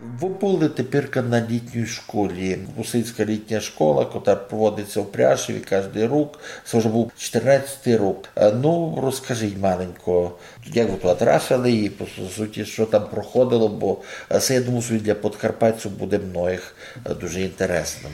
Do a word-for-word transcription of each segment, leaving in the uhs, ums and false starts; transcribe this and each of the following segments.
Вы были теперка на літній школі. Русинська літня школа, котра проводиться в Пряшеві каждый рок. Се вже быв чотирнадцятый рок. Е, ну, розкажіть маленько, як вы туй трапили і, по суті, што там проходило, бо, е, се, я думаю, што для подкарпатців буде многых, е, дуже інтересным.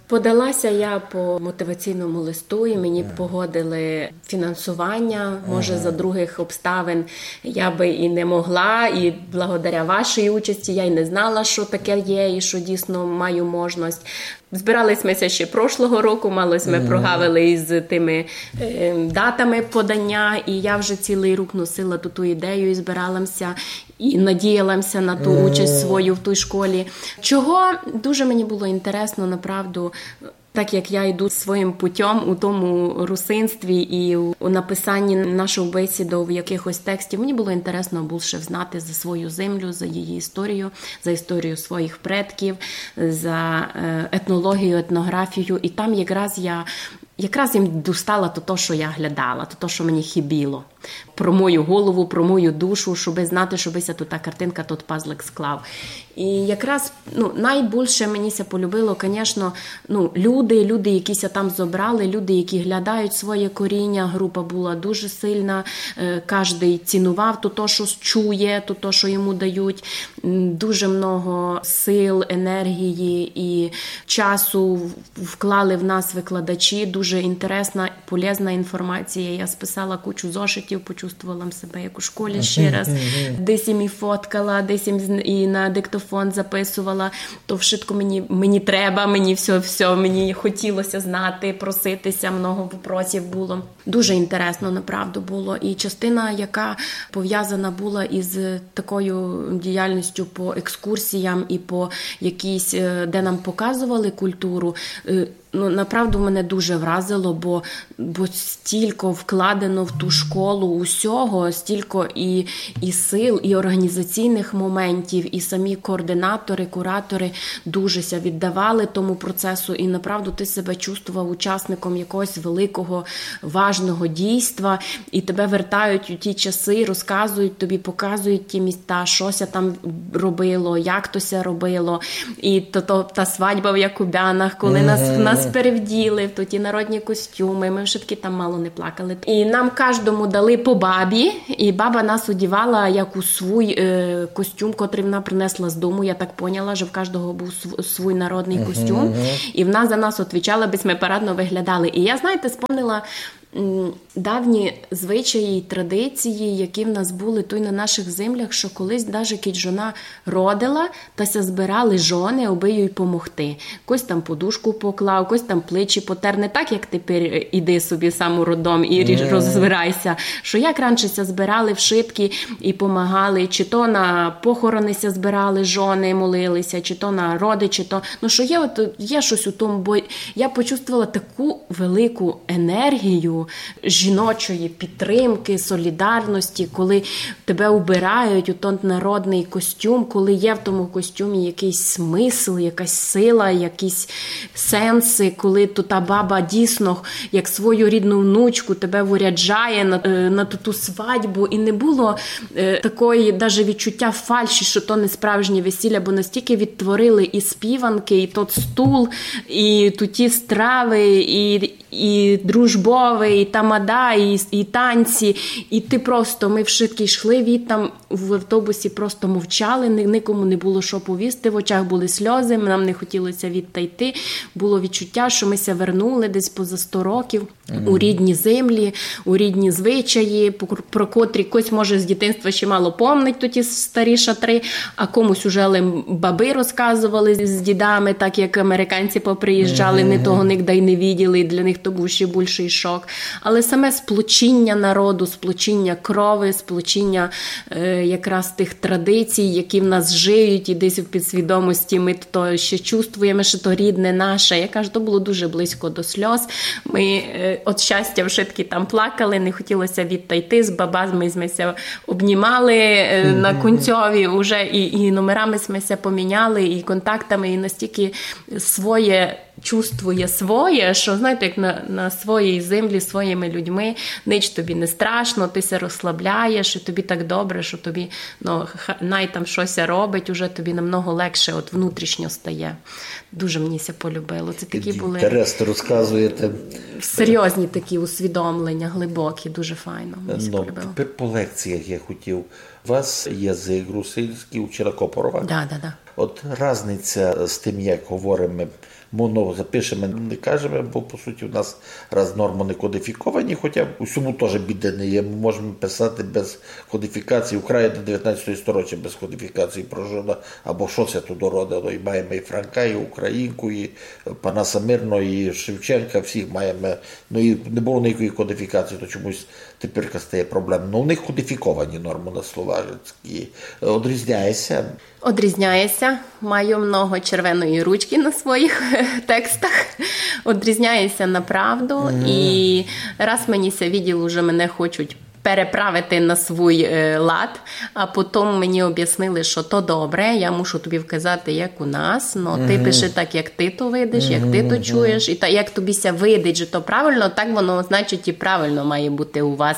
Подала ся я по мотиваційному листу, і мені погодили фінансування. Може, за другых обставин я бы і не могла, і благодаря вашій участі я й не знала, што таке є, і што дійсно маю можность. Збирали сьме ся ще прошлого року, мало сьме прогавили із тыми, е, датами подання, і я вже цілый рік носила ту, ту ідею і збирала ся, і надіяла ся на ту участь свою в тій школі. Чого дуже мені было інтересно, направду, так як я йду своїм путём у тому русинстві і у, у написанні наших бесідов, якыхось текстів, мені было інтересно більше знати за свою землю, за її історію, за історію своїх предків, за, е, етнологію, етнографію. І там якраз я, якраз їм достала то, то, што я глядала, то, то, што мені хибіло. Про мою голову, про мою душу, щоби знати, щоби ся туй та картинка, тот пазлик склав. І якраз, ну, найбільше мені ся полюбило, конечно, ну, люди, люди, які ся там зобрали, люди, які глядають своє коріння, група была дуже сильна, е, каждый цінував то, то, што чує, то, то, што йому дають. М, дуже много сил, енергії і часу в-, вклали в нас викладачі, дуже інтересна, полезна інформація. Я списала кучу зошитів, почувствовала себе як у школі ще раз. Десь им і фоткала, десь им з-, і на диктофон записувала. То вшытко мені, мені треба, мені всьо, всьо, мені хотіло ся знати, просити ся, много вопросів было. Дуже інтересно, направду, было. І частина, яка пов'язана была із такою діяльністю по екскурсіям і по якійсь, е, де нам показували культуру, е, ну, направду, мене дуже вразило, бо, бо стілько вкладено в ту школу усього, стілько і, і сил, і організаційних моментів, і самі координатори, куратори дуже ся віддавали тому процесу, і направду ты себе чувствовав учасником якогось великого, важного дійства, і тебе вертають у ті часы, розказують тобі, показують ті міста, што ся там робило, як то ся робило, і то, то, та свадьба в Якубянах, коли нас, нас перевділи в ті народні костюмы, мы вшыткі там мало не плакали. І нам каждому дали по бабі, і баба нас одівала як у свій, е, костюм, котрый вона принесла з дому. Я так поняла, што в каждого быв св-, свій народный костюм. І вона за нас отвічала, бы сьме парадно выглядали. І я, знаєте, спомнила, м, давні звичаї й традиції, які в нас были туй на наших землях, што колись даже кідь жона родила, та ся збирали жоны, обы їй помогти. Хтось там подушку поклав, хтось там плечі потер. Не так, як тепер, е, іди собі сам у роддом і рі-, розбирай ся. Што як раніше ся збирали вшыткі і помагали, чи то на похороны ся збирали жоны, молили ся, чи то на роды, чи то, ну, што є, от, є штось у тому, бо я почувствовала таку велику енергію жіночої підтримки, солідарності, коли тебе убирають у тот народный костюм, коли є в тому костюмі якыйсь смысл, якась сила, якісь сенсы, коли то та баба дійсно, як свою рідну внучку, тебе виряджає на, е, на ту, ту свадьбу, і не было, е, такої даже відчуття фальші, што то не справжнє весілля, бо настільки відтворили і співанки, і тот стул, і туті стравы, і, і дружбовы, і тамада, і, і танці. І ты просто, мы вшыткі йшли від там в автобусі, просто мовчали, ни-, никому не было што повісти, в очах были сльозы, нам не хотіло ся відтайти. Было відчуття, што мы ся вернули десь поза сто років у рідні землі, у рідні звичаї, по-, про котрі хтось, може, з дітинства ще мало помнить туті старі шатры, а комусь уже лим бабы розказовали з дідами, так як американці поприїжджали, ни того нигде й не виділи, і для них то быв ще бульшый шок. Але саме сплочіння народу, сплочіння крови, сплочіння, е, якраз тых традицій, які в нас жиють і десь в підсвідомості мы то ще чувствуєме, што то рідне наше. Я кажу, то было дуже близько до сльоз. Мы, е, од щастя вшыткі там плакали, не хотіло ся відтайти, з бабами сьме ся обнімали, е, на кінцьові уже і, і номерами сьме ся поміняли, і контактами, і настільки своє чувствує своє, що, знаєте, як на, на своїй землі, своїми людьми, нич тобі не страшно, ти ся розслабляєш, і тобі так добре, що тобі, ну, ха- най там щось робить, уже тобі намного легше от внутрішньо стає. Дуже мені ся полюбило. Це такі були Інтересно розказуєте. серйозні такі усвідомлення, глибокі, дуже файно. Мені ся Ну, полюбило. Тепер по лекціях я хотів. У вас язик русинський, учила Копорова. Да, да, да. От разниця з тим, як говоримо, ми, ну, запишемо, не кажемо, бо, по суті, у нас раз нормы не кодифіковані, хоча в усьому теж біди не є. Ми можемо писати без кодифікації, Україна девятнадцятого сторіччя без кодифікації прожила, або що це тут родило. І маємо і Франка, і Українку, і Панаса Мирного, і Шевченка, всіх маємо. Ну і не було ніякої кодифікації, то чомусь тепер стає проблемно. Ну, у них кодифіковані нормы на словацькій. Одрізняється. Одрізняє ся. Маю много червеної ручки на своїх текстах. Одрізняє ся направду. І раз мені ся виділо, уже мене хочуть переправити на свій е, лад, а потім мені об'яснили, що то добре, я мушу тобі вказати, як у нас, но ти пиши так, як ти то видиш, як ти то чуєш, і та, як тобі ся видить, що то правильно, так воно, значить, і правильно має бути у вас.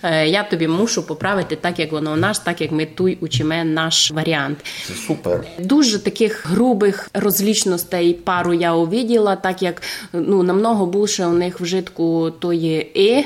Е, я тобі мушу поправити так, як воно у нас, так, як ми туй учиме наш варіант. Це супер. Дуже таких грубих розлічностей пару я увиділа, так як, ну, намного більше у них вжитку тої «и»,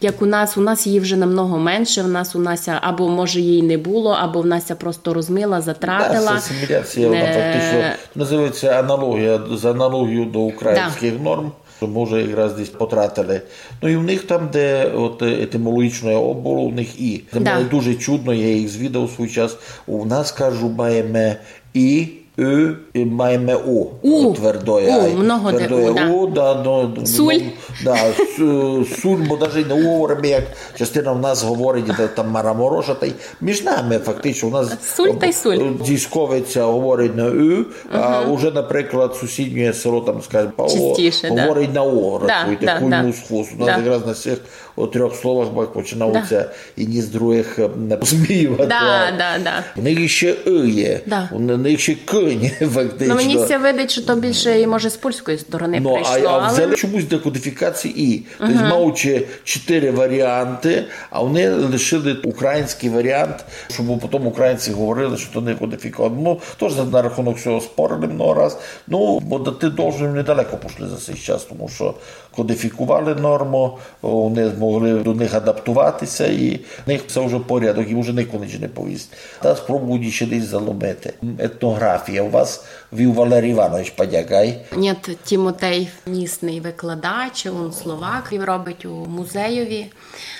як у нас, у нас її вже намного менше, в нас, у нас ся, або, може, її не було, або в нас ся просто розмила, затратила. Да, це асиміляція, вона Е, фактично називається аналогія, з аналогією до українських норм, що ми вже якраз десь потратили. Ну і в них там, де от е, етимологічно «о» було, у них «і». Це Да. Мені дуже чудно, я їх звідав свій час. У нас, кажу, маємо «і», «ы», і маємо «у». У. Твердоє У, «ай». Много де Твердоє «у», да. «у», да, ну, Суль. ну, да, су- суль, бо навіть не «у» говоримо, як частина в нас говорить, де там Марамороша, та й між нами фактично у нас Суль та й суль. Дзісковиця говорить на «ы», а вже, наприклад, сусіднє село, там, скажімо, Павло, Чистіше, да. говорить на «о», Да, рахуйте, да, куль да. мус хвост. У нас Да. якраз на цих от трьох словах бак починаються і ні з других е, не посміювати. Да, да, да. У них ще «ы» є, Да. у них ще «к» є, фактично. Ну, мені ся видить, що то більше і, може, з польської сторони Ну, а, прийшло, а але взяли чомусь декодифікації «і». Тобто, маючи чотири варіанти, а вони лишили український варіант, щоб потім українці говорили, що то не кодифіковано. Ну, тож на рахунок цього спорили много раз. Ну, бо ти должен недалеко пішли за цей час, тому що кодифікували норму, вони змогли до них адаптуватися, і в них це вже порядок, і вже ніхто нічого не повість. Та спробують ще десь заломити. Етнографія. У вас вів Валерій Іванович Падяк, ай? Ні, Тімотей, місний викладач, він словак, він робить у музейові.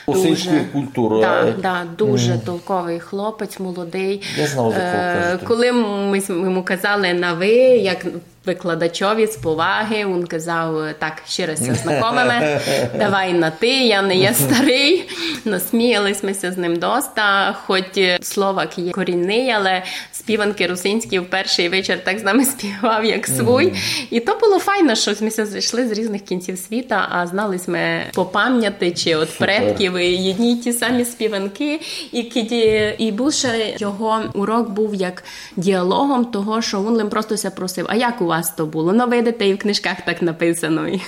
Русинської культури, Да, але да, дуже толковий хлопець, молодий. Я знав, за кого Е, кажете. Коли ми с- йому казали на «ви», як викладачові з поваги, він казав: «Так, ще раз ся знакомиме, давай на «ти», я не є старий». Насміялись ми ся з ним доста, хоч е, словак є корінний, але співанки русинські в перший вечір так з нами співав, як свій. І то було файно, що ми ся зійшли з різних кінців світа, а знали ми по пам'яті чи от предків і єдні й ті самі співанки. І кіді, і більше його урок був як діалогом того, що він лим просто ся просив: «А як у вас то було? Ну, видите, і в книжках так написано». І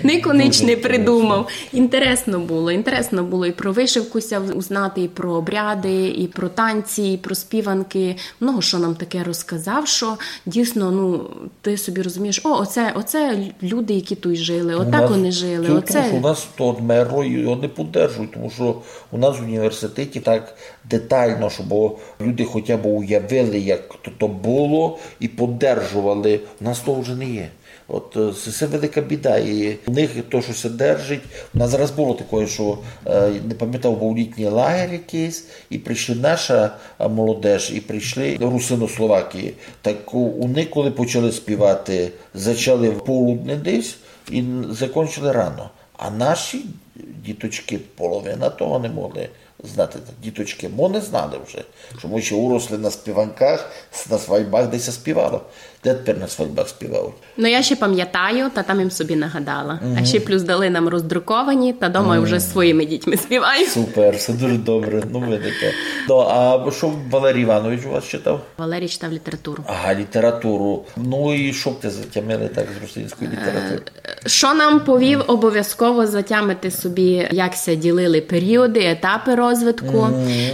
нико нич не придумав. Інтересно було, інтересно було і про вишивку ся узнати, і про обряди, і про танці, і про співанки. Много що нам таке розказав, що дійсно, ну, ти собі розумієш, о, оце, оце люди, які тут жили, отак вони жили, Тому оце. Що у нас то одмерло і його не поддержують, тому що у нас в університеті так детально, щоб люди хоча б уявили, як то, то було, і поддержували. У нас того вже не є. От е, це, це велика біда. І у них то, що це держить, у нас зараз було таке, що е, не пам'ятав, був літній лагерь якийсь, і прийшли наша е, молодеж, і прийшли русинословаки. Так у- вони, коли почали співати, зачали в полудне десь і н- закончили рано. А наші діточки половина того не могли Знати, діточкы, мы не знали вже, што мы ще уросли на співанках, на свадьбах, де ся співало. Де тепер на свадьбах співають? Ну, я ще памятаю, та там им собі нагадала. А ще плюс дали нам роздруковані, та дома вже з своїми дітьми співаю. Супер, се дуже добре, ну видите. Ну, а што Валерій Іванович у вас читав? Валерій читав літературу. Ага, літературу. Ну і што б те затямили так з русинської літератури? Што нам повів обовязково затямити собі, як ся ділили періоды, етапы розвитку.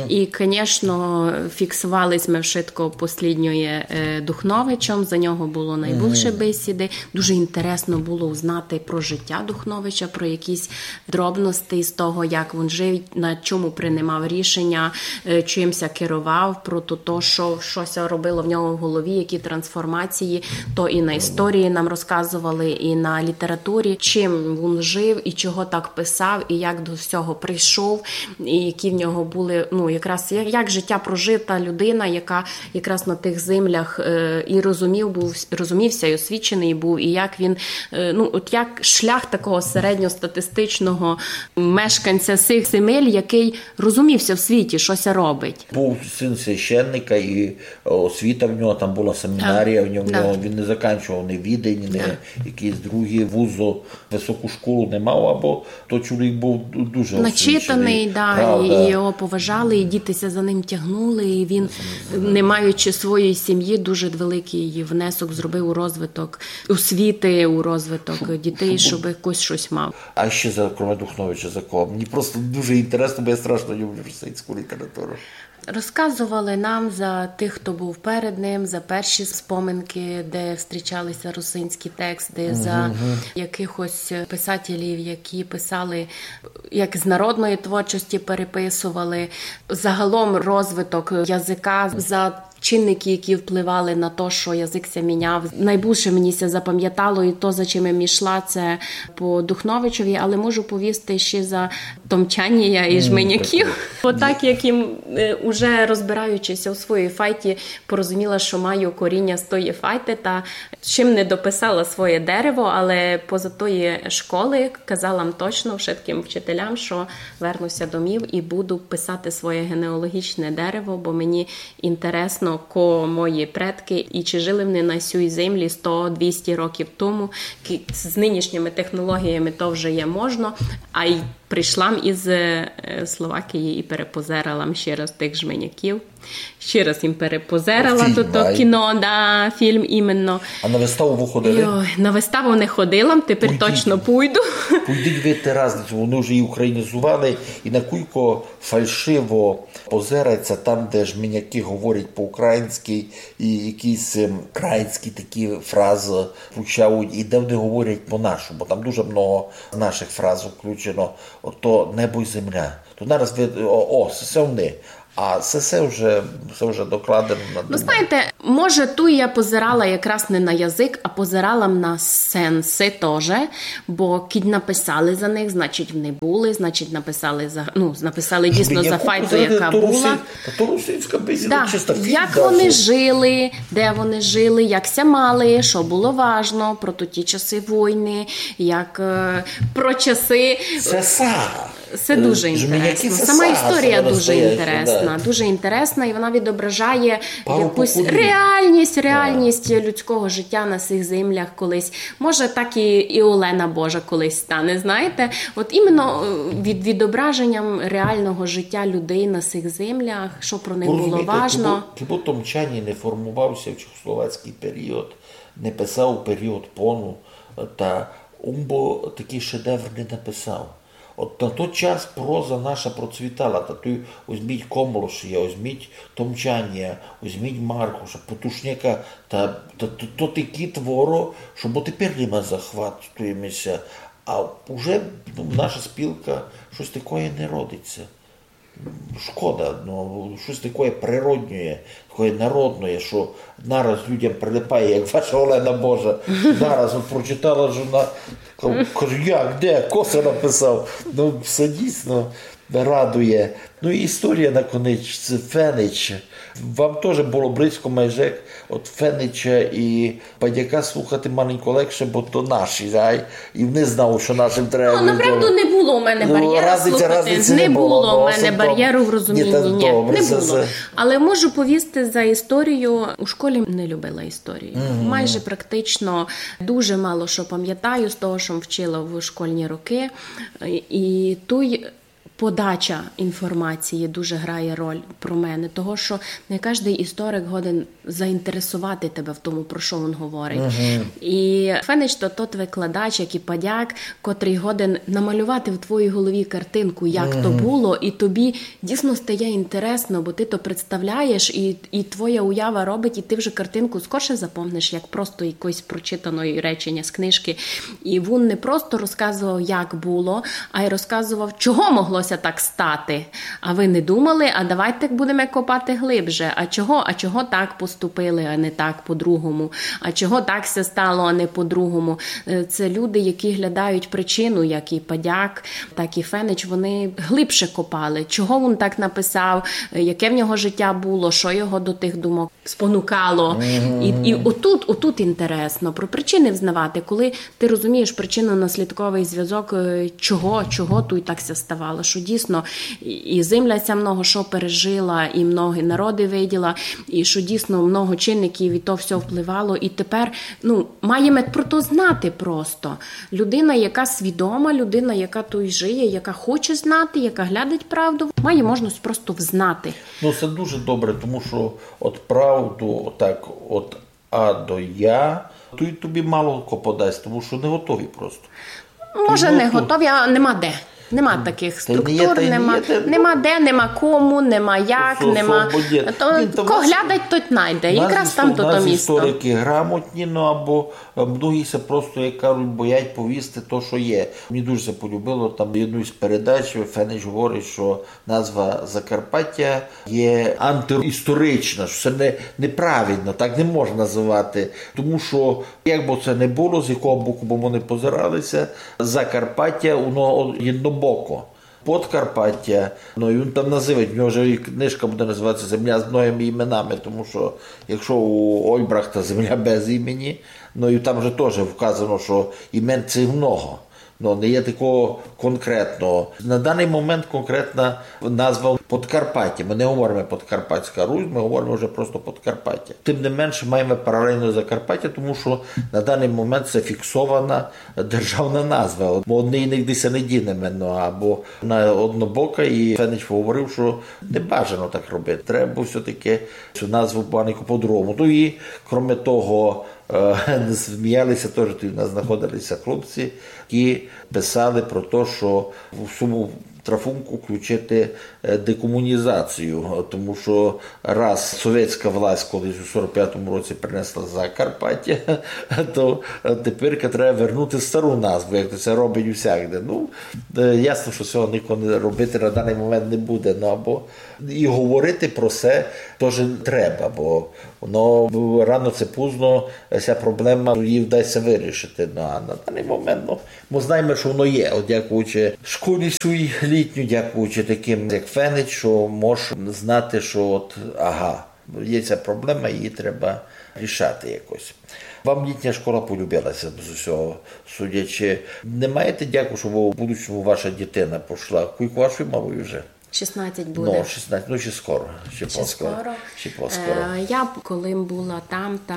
І, конечно, фіксовали сьме вшытко послідньоє, е, Духновичом, за нього было найбульше бесіды. Дуже інтересно было узнати про життя Духновича, про якісь дробности з того, як вун жив, на чому принимав рішеня, е, чим ся керовав, про то, то, што, што ся робило в нього в голові, які трансформації, то і на історії нам розказовали, і на літературі, чим вун жив, і чого так писав, і як до всього прийшов, і які в нього были, ну, якраз як, як життя прожита людина, яка якраз на тых землях, е, і розумів быв, розумів ся, і освіченый быв, і як він, е, ну, от як шлях такого середньостатистичного мешканця сих земель, якый розумів ся в світі, што ся робить. Быв син священника, і, е, освіта в нього там была, семінарія в нього, він не заканчував ні Відень, ні якісь другі вузы, высоку школу не мав, або то чоловік быв ду-, дуже освіченый. Начитаный, да, правда. І, і його поважали, і діти ся за ним тягнули, і він, не маючи своєї сім'ї, дуже великый внесок зробив у розвиток освіти, у розвиток дітей, щоб хтось щось мав. А ще за, кроме Духновича, за кого? Мені просто дуже інтересно, бо я страшно люблю русинську літературу. Розказовали нам за тых, хто быв перед ним, за перші споминкы, де зустрічали ся русинські тексты, за якыхось писателів, які писали, як з народної творчості переписовали. Загалом розвиток языка, за чинникы, які впливали на то, што язык ся міняв. Найбульше мені ся запамятало, і то, за чим я йшла, це по Духновичови, але можу повісти ще за томчанія і жменяків. Бо так, як им, е, уже розбираючи ся у своїй файті, порозуміла, што маю коріня з тої файты, та чим не дописала своє дерево, але поза тої школы казала м точно вшыткым вчителям, што верну ся домів і буду писати своє генеалогічне дерево, бо мені інтересно, ко мої предкы і чи жили вони на сюй землі сто, двісті років тому. Кі-, з нынішніми технологіями то вже є можно, а й прийшла м із, е, Словакії і перепозерала м ще раз тых жменяків. Ще раз им перепозерала то, то кіно, да, фільм іменно. А на виставу вы ходили? Йой, на виставу не ходила, тепер точно пойду. Пойдіть, видите разницю, вони вже і українізували, і на кулько фальшиво позирається там, де жменяки говорять по-українськи, і якісь, ем, українські такі фрази включають, і де вони говорять по-нашому, бо там дуже много наших фраз включено. Ото небо й земля. То нараз ви, о, о, се, се вони. А се, се вже, се вже докладено на... Ну, знаєте, може, ту я позирала якраз не на язык, а позирала м на сенсы тоже, бо кідь написали за них, значить, вони были, значить, написали за, ну, написали дійсно за файту, яка была. Та то русинська бесіда, да, чиста фігня. Як вони жили, де вони жили, як ся мали, што было важно, про тоті часы войны, як, е, про часы. Се сага. Се дуже інтересно. Сама історія дуже інтересна, дуже інтересна, і вона відображає якусь реальність, реальність людського життя на сих землях колись. Може, так і, і Олена Божа колись стане, знаєте? От іменно, е, від, відображенням реального життя людей на сих землях, што про них было важно. Розумієте, кибы, кибы Томчанін не формовався в чехословацькый період, не писав у період пону, та ум бы такый шедевр не написав. От на тот час проза наша процвітала, та туй возьміть Комлошія, возьміть Томчанія, возьміть Маркуша, Потушняка, та, та то, то такі творы, што бо тепер ними захватуєме ся. А уже, ну, наша спілка, штось такоє не родить ся. Шкода, ну, штось такоє природнє, такоє народне, што нараз людям прилипає, як ваша Олена Божа. Нараз от прочитала жона, ка-, каже: «Як, де, ко се написав?» Ну, се дійсно. радує. Ну і історія наконець, це Фенич. Вам тоже было близько майже, от Фенича і Падяка слухати маленько легше, бо то наші, ай, і вони знали, што нашим треба. Ну, направду не было у мене барєру слухати. Не было у мене барєру в розумінні. Ні, не было. Але можу повісти за історію. У школі не любила історію. Майже практично дуже мало што памятаю з того, што вчила в школьні рокы. І туй подача інформації дуже грає роль про мене, того, што не каждый історик годен заінтересовати тебе в тому, про што він говорить. І Фенич то тот викладач, як і Падяк, котрый годен намалювати в твоїй голові картинку, як то было, і тобі дійсно стає інтересно, бо ты то представляєш, і, і твоя уява робить, і ты вже картинку скорше запомниш, як просто якесь прочитане реченя з книжкы. І він не просто розказовав, як было, а й розказовав, чого могло ся так стати. А вы не думали, а давайте будеме копати глибше. А чого? А чого так поступили, а не так по-другому? А чого так ся стало, а не по-другому? Е, це люди, які глядають причину, як і Падяк, так і Фенич, вони глибше копали. Чого він так написав, е, яке в нього життя было, што його до тых думок спонукало. І, і отут, отут інтересно про причины взнавати, коли ты розумієш причинно-наслідковый звязок, е, чого, чого туй так ся ставало, што дійсно і, і земля ся много што пережила, і многі народы виділа, і што дійсно много чинників і то всьо впливало. І тепер, ну, маєме про то знати просто. Людина, яка свідома, людина, яка туй жиє, яка хоче знати, яка глядить правду, має можливість просто взнати. Ну, се дуже добре, тому што от правду так от А до Я, то й тобі мало ко подасть, тому што не готові просто. Може, не готові, а нема де. Нема такых структур, нема де, нема кому, нема як, нема. То, ко глядать, тот найде. Якраз там то, то місто. Нас історикы грамотні, ну, або, е, многі ся просто, як кажуть, боять повісти то, што є. Мені дуже ся полюбило, там єдну із передач Фенич говорить, што назва Закарпаття є антиісторична, што се не, неправильно, так не можна называти. Тому што, як бы се не было, з якого боку бы мы не позирали ся, Закарпаття, воно єднобоко. Подкарпаття, ну, і він там называть, в нього вже і книжка буде называти ся «Земля з многыми іменами», тому што якщо у Ольбрахта земля без імені, ну, і там же тоже вказано, што імен цих много. Ну, не є такого конкретного. На даный момент конкретна назва Подкарпаття. Мы не говориме Подкарпатська Русь, мы говориме вже просто Подкарпаття. Тым не менше, маєме паралельно Закарпаття, тому што на даный момент се фіксована державна назва. Мы од неї нигде ся не дінеме, ну, або вона однобока, і Фенич говорив, што не бажано так робити. Треба все-таки цю назву маленько по-другому. Ну і, кроме того, е, сміяли ся тоже, туй у нас знаходили ся хлопці, які писали про то, што в сьому трафунку включити, е, декомунізацію, тому што раз совєтська власть колись у сорок пятому році принесла Закарпаття, то, е, тепер треба вернути стару назву, як то ся робить усякде. Ну, е, ясно, што сього нико не робити на даный момент не буде, ну, або і говорити про се тоже треба, бо воно рано ци пізно ся проблема її вдасть ся вирішити. Ну, а на даный момент, ну, мы знаєме, што воно є. От дякуючи школі своїй літній, дякуючи такым, як Фенич, што можеш знати, што от, ага, є ся проблема, її треба рішати якось. Вам літня школа полюбила ся з усього судячи. Не маєте дяку, што в будучому ваша дітина пішла? Кулько вашій малій уже? Шістнадцять буде. Ну, шістнадцять, ну, ще скоро, ще поскоро. Ще поскоро. Е, я, коли была там, та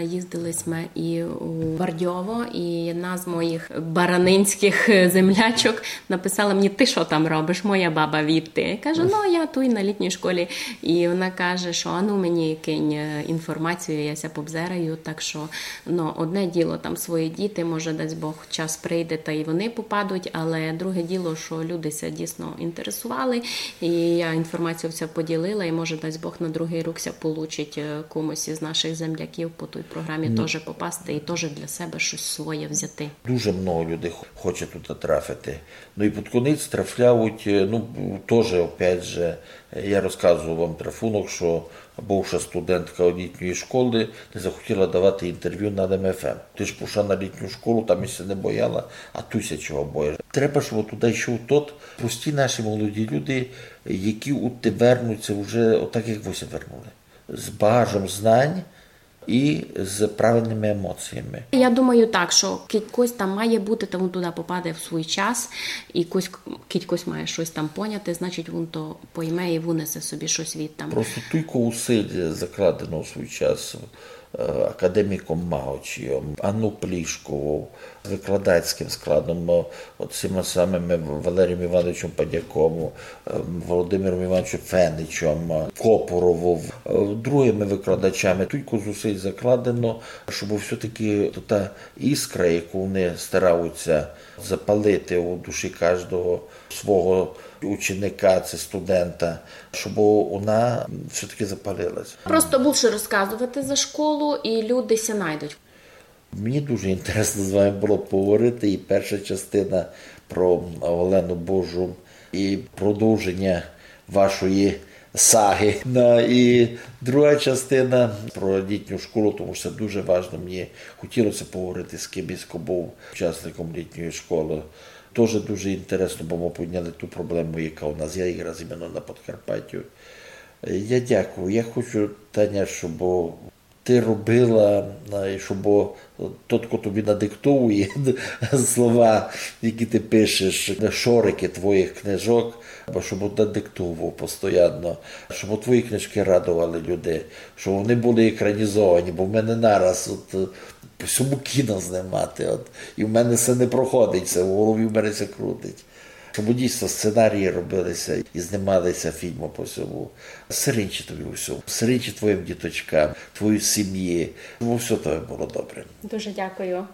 їздили сьме і у Вардьово, і єдна з моїх баранинськых землячок написала мені: «Ты што там робиш, моя баба відти?» Я кажу: «Ну, я туй на літній школі». І вона каже, што: «А ну мені кинь, е, інформацію, я ся побзераю». Так што, ну, одне діло там свої діти, може, дасть Бог, час прийде, та й вони попадуть, але друге діло, што люди ся дійсно інтересували, і я інформацію вся поділила, і, може, дасть Бог, на другый рік ся получить, е, комусь із наших земляків по тій програмі тоже попасти і тоже для себе штось своє взяти. Дуже много людей хоче туй трафити. Ну і під конець трафляють, е, ну, тоже, опять же, Я розказовав вам, Трафунок, што бывша студентка літньої школы не захотіла давати інтервю на М Ф М. Ты ж пішла на літню школу, там ся не бояла, а туй ся чого боїш. Треба, щоб туды йшов тот, прості наші молоді люди, які у те вернуть ся вже отак, як вы ся вернули. З багажом знань і з правильныма емоціями. Я думаю так, што кідь кось там має быти, то вун туды попаде в свій час, і кось, кідь кось має штось там поняти, значить вун то пойме і вынесе собі штось звідтам. Просто туйко усиль закладено у свій час е, академіком Маочійом, Анну Плішковов, викладацькым складом, е, от сима самыма Валерієм Івановичом Падяком, е, Володимиром Івановичом Феничом, е, Копоровов, е, другыма викладачами. Туйко зусиль закладено, щоб все-таки та іскра, яку вони стараються запалити у душі кожного свого ученика, ци студента, щоб вона все-таки запалилась. Просто більше розказувати за школу, і люди ся найдуть. Мені дуже інтересно з вами було поговорити, і перша частина про Олену Божу, і продовження вашої саги. Ну, і друга частина про літню школу, тому що це дуже важно. Мені хотілося поговорити з кимось, хто був учасником літньої школи. Тоже дуже інтересно, бо ми підняли ту проблему, яка у нас є якраз іменно на Подкарпаттю. Я дякую. Я хочу, Таня, щоб ти робила, е, і щоб тот, хто тобі надиктовує слова, які ти пишеш, шорики твоїх книжок, або щоб надиктовував постійно, щоб твої книжки радували людей, щоб вони були екранізовані, бо в мене нараз от, е, по всьому кіно знімати. От, і в мене все не проходить, все в голові в мене все крутить. Щоб дійсно сценарії робилися і знімалися фільми по всьому. Сиринчі тобі у всьому. Сиринчі твоїм діточкам, твоїй сім'ї. Щоб все тобі було добре. Дуже дякую.